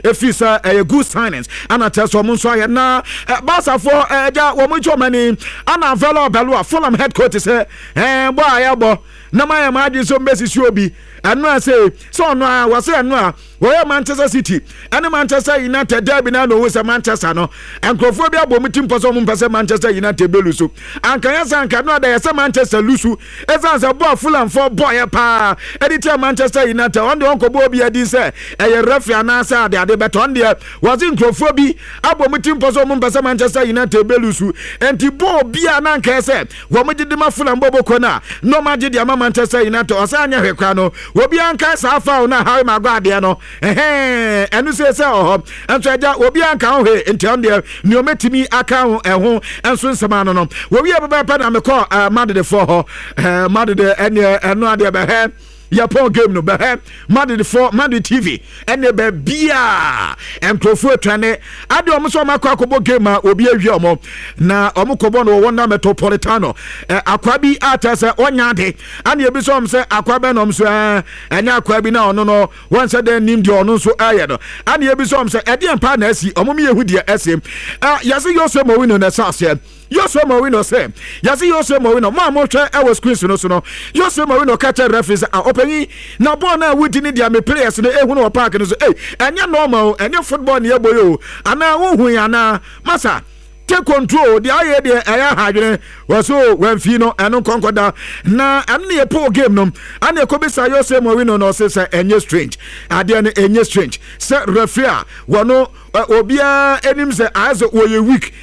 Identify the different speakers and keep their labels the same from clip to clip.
Speaker 1: Ɛfiri sɛ ɛyɛ good signings ana kyerɛ sɛ ɔmo nso ayɛ na Barcafoɔ ɛgya wɔn nkyɛn ɔmo ani ana Alvaro Arbeloa, Fulham head coach, sɛ bɔ a yɛbɔ na ma yɛ ma adwene sɛ ɔmbɛsisi obi ɛno a sɛ ɔno a wɔsɛ ɛno a wɔyɛ Manchester City ɛne Manchester United derby na ohu sɛ Manchester no nkurɔfoɔ bi abɔ mu ti mpɔ sɛ ɔmo mpɛ sɛ Manchester United bɛ lose. Anka yɛ sɛ anka no ada yɛ sɛ Manchester lose, ɛsiane sɛ bɔɔ Fulhamfoɔ bɔɔyɛ paa ɛde tia Manchester United. Ɔno deɛ ɔnkɔbɔ obi adi sɛ ɛyɛ referee anaasɛ ade ade bɛtɔ. Ɔno deɛ wɔse nkurɔfoɔ bi abɔ mu ti mpɔ sɛ ɔmo mpɛ sɛ Manchester United bɛ lose, nti bɔɔl bi a na anka yɛ sɛ wɔn gye de ma Fulham bɔ bɔkɔ no a na ɔmo agye de ama Manchester United. Ɔsɛ anyɛ hwɛ kora no, obiara nka saa foul na Harry Maguire adeɛ no ɛhɛn ɛno sɛ ɔhɔ nso agya obiara nka ho hwee, nti ɔno deɛ nea ɔmɛtumi aka ho ɛho nso nsɛm ano no wɔwie pɛpɛpɛ. Na mekɔ Madridfoɔ hɔ, Madrid ɛneɛ ɛno adeɛ bɛhɛ yɛpɔn game no bɛhɛ Madridfoɔ Madrid TV ɛne baabia nkurɔfoɔ atwane ade ɔmo sɛ ɔmo akɔ akɔbɔ game a obi awie ɔmo na ɔmo kɔbɔ no wɔ Wanda Metropolitano. Akwa bi ata sɛ ɔnya ade ane ebi sɛ ɔmo sɛ akwa bɛn na ɔmo so ɛnyɛ akwa bi na ɔno no wɔn sɛ dɛn nim deɛ ɔno nso ɛyɛ no. Ane ebi sɛ ɔmo sɛ ɛdeɛ mpa na asi ɔmo mi ehu deɛ ɛsi yɛsɛ Jose Mourinho na ɛsɛ aseɛ. Jose Mourinho sɛ yɛsɛ Jose Mourinho mo a mohwɛ ɛwɔ screen so no so no, Jose Mourinho ka kyerɛ referee sɛ a ɔpanyin na bɔɔl no a wodi ne deɛ me players no ehu no wɔ park no so, ei, ɛnyɛ normal o, ɛnyɛ football ne ɛbɔ yi o, anaa wohu yi anaa masa take control deɛ ayɛ deɛ ɛyɛ ahadwene wɔ so wɔamfi no ɛno nkɔnkɔda na ɛno ne yɛpɔɔ game no. Ana ɛkɔbisa Jose Mourinho na ɔse sɛ ɛnyɛ strange adeɛ no, ɛnyɛ strange sɛ referee a wɔno obiara anim sɛ ayɛ sɛ wɔyɛ weak,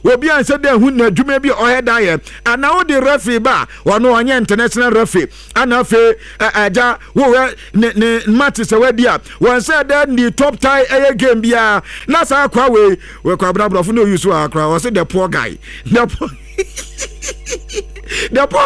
Speaker 1: obiara nsɛ dɛ hu n'adwuma bi a ɔyɛ da yɛ ana wode referee ba a ɔno ɔnyɛ international referee, ana afei agya wohwɛ ne match sɛ wadi a wɔn sɛ dɛ ne top tie ɛyɛ game biara na saa akwa wei wɔkɔ abraborɔfo na oyi so akora ɔsɛ the poor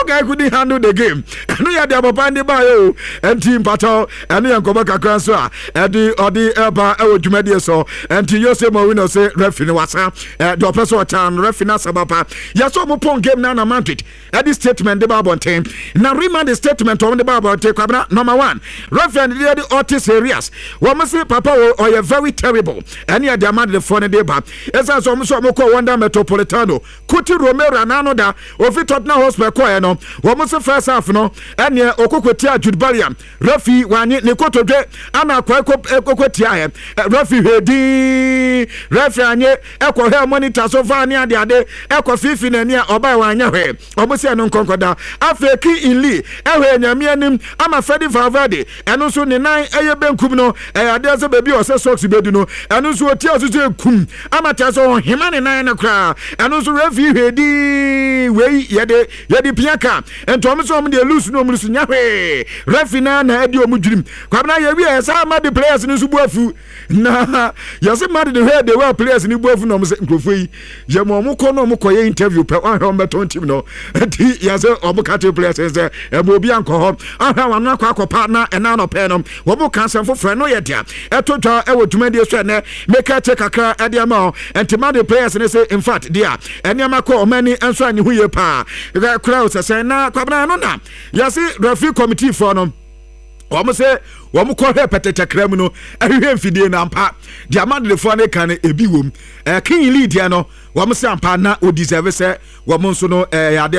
Speaker 1: guy couldn't handle the game. Ɛno yɛ de abɔpa de baayɛ o. Ɛnti mpatɔ ɛno yɛ nkɔmɔ kakra nso a ɛde ɔde ɛba ɛwɔ dwumadie so. Ɛnti Jose Mourinho sɛ referee no wasa deɛ ɔpɛ sɛ ɔkyan no, referee no asɛm apa. Yɛsɛ ɔmo pɔn game na Madrid ɛde statement de ba abɔnten na remand statement ɔmo de ba abɔnten. Kwabena, number one, referee no de Ortiz Arias, wɔn se papa wɔ ɔyɛ very terrible. Ɛne ɛde Madridfoɔ no de ba ɛsan sɛ ɔmo sɛ ɔmo kɔ Wanda Metropolitano Cuti Romero anano da ofi Tottenham Hotspur kɔɛ no, wɔn se first half no ɛneɛ okoko tia Jude Bellingham, referee wanye ne kotodwe ana akɔ ɛkoko tia yɛ, referee hwɛ din, referee anye ɛkɔ hwɛ monitor so fa ne ade ade ɛkɔ fifi n'ani a ɔbaa wanyɛ hwɛ. Ɔmo sɛ ɛno nkɔnkɔda. Afei Kang In Lee ɛhwɛ Nyame anim ama Fede Valverde, ɛno nso ne nan ɛyɛ benkum no ɛyɛ adeɛ sɛ baabi a ɔsɛ socks bɛdu no, ɛno nso ɔtia so sɛ kum ama kyerɛ sɛ ɔhema ne nan no koraa, ɛno nso referee hwɛ din wei yɛde pia ka. Nti ɔmo sɛ ɔmo deɛ lose no, ɔmo lose nya hwee, referee na ɛde ɔmo dwirim. Kwabena, yɛwie ɛsɛ ama de players no nso bu afu na yɛsɛ Madrid hwɛ de wɛ players no bu afu na ɔmo sɛ nkurɔfoɔ yi yɛ mo ɔmo kɔ na ɔmo kɔ yɛ interview pɛ ɔhwɛ ɔmo bɛtɔn team no. Nti yɛsɛ ɔmo ka kyerɛ players sɛ ɛmo obi ankɔ hɔ ahwɛ wɔn akɔ akɔpa na ɛna anɔpɛ no wɔn ka asɛm foforɔ. Ɛno yɛ dea ɛto dwa ɛwɔ dwumadie so. Ɛnɛ meka kyɛ kakra ɛde ama o. Nti Madrid players no sɛ in fact deɛ ɛnneɛma kɔ ɔmo ani nso anyi ho yie paa kora o sɛsɛn na Kwabena ɛno na yɛse referee committee foɔ no wɔn sɛ wɔn kɔhwɛ pɛtɛkyɛkra mu no ɛhwehwɛ mfidie na ampa deɛ Madridfoɔ no ka no ebi wɔ mu. Kang In Lee deɛ no, wɔn sɛ ampa na o deserve sɛ wɔn nso no ɛyɛ adeɛ.